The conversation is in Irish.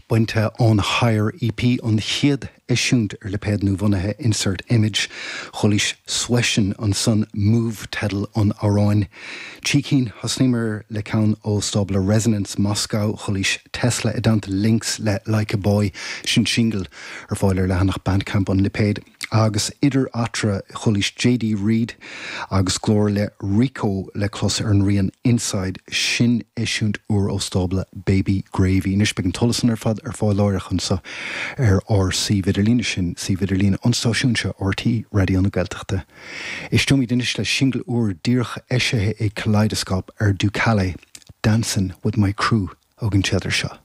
Bainte ón Higher EP, an chéad eisiúint ar lipéad nuabhunaithe Insert Image. Chualaís Sweshin ansan, Move teideal an amhráin. Trí cinn, thosnaíomar le ceann ó stábla Resonance Moscow, chualaís Tesla i dteannta Lynx le Like a Boy, sin singil ar fáil ar leathanach Bandcamp an lipéid. Agus idir eatarthu, chualaís JD Reed agus glór le Rico le clos ar an rian Inside, sin eisiúint úr ó stábla Baby Gravy. Anois beidh an t-eolas san ar fad ar fáil láithreach anseo ar ár suíomh idirlíne, sin suíomh idirlíne an stáisiúin seo, RTÉ Raidió na Gaeltachta. Éisteoimid anois le singil úr díreach eisithe ag Kaleidoscope ar Ducale, Dancin' With My Crew, an téagar seo.